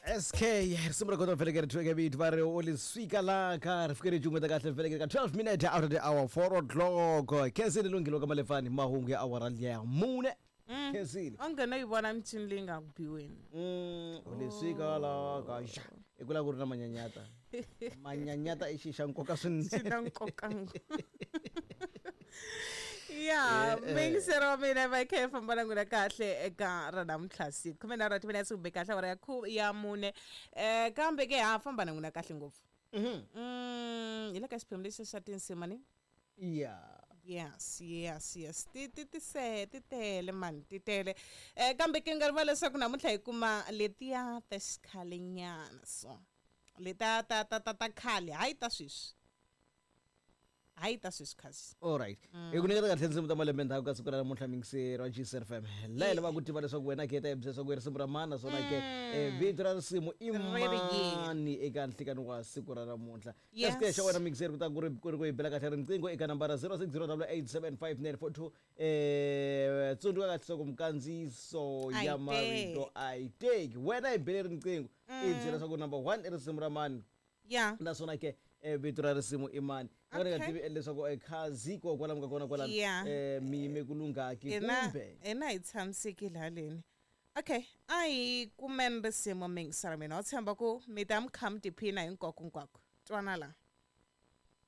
SK risimu ra kona veleke ri thweke vito va ri u liswika la ka ri fike ri cungeta kahle veleke ka 12 minutes out of the hour 4 o'clock. Khensile lunghilo ka malefani mahungu ya awara liya mune. Khensile Onge no yi vona michini leyi nga ku biweni. U liswika la ka xa i ku lava ku ri na manyanyata. Manyanyata i xi xa nkoka Swi swinene. Na nkoka ngopfu. Ya miyingiseri wa mina, va kha yi famba na n'wina kahle eka ra namuntlha siku 13 timinetse kumbe kahle awara ya 4. Kambe ke ha famba na n'wina kahle ngopfu. Hi le ka xiphemu lexi xa tinsimu ni. Yes, ti se ti tele mani, ti tele. Kambe ke nga rivala leswaku namuntlha hi kuma letiya ta xikhalenyana, so leta ta khale, hayi ta sweswi, hayi ta sweswi khasi. Alright, hi ku nyiketa kahle tinsimu ta malembe ndzhaku ka siku ra namuntlha, mingiseri wa GCFM. La hi lava ku tiva leswaku wena ke ta hi byela leswaku i risimu ra mani, naswona ke vito ra risimu i Ri ri yini? mani eka nhlikani wa siku ra namuntlha. Yes. Xa wena mingiseri ku ta ku ri ku hi bela kahle riqingho eka nambara 0608875942. Tsundzuka kahle leswaku mikandziyiso A yi ya marito teki. a yi teki. Wena hi bele riqingho, i byela leswaku number 1 i risimu ra mani, naswona ke vito ra risimu i mani. Nga ni nga tivi leswaku khazi ko kwalamu ka kona kwalano mi yime ku lunghaki kumbe Hina hi tshamisekile haleni. Okay, a hi kumeni risimu, mingisela mina wa tshemba ku mi ta mi kha mi tiphina hinkwako hinkwako. Twana la.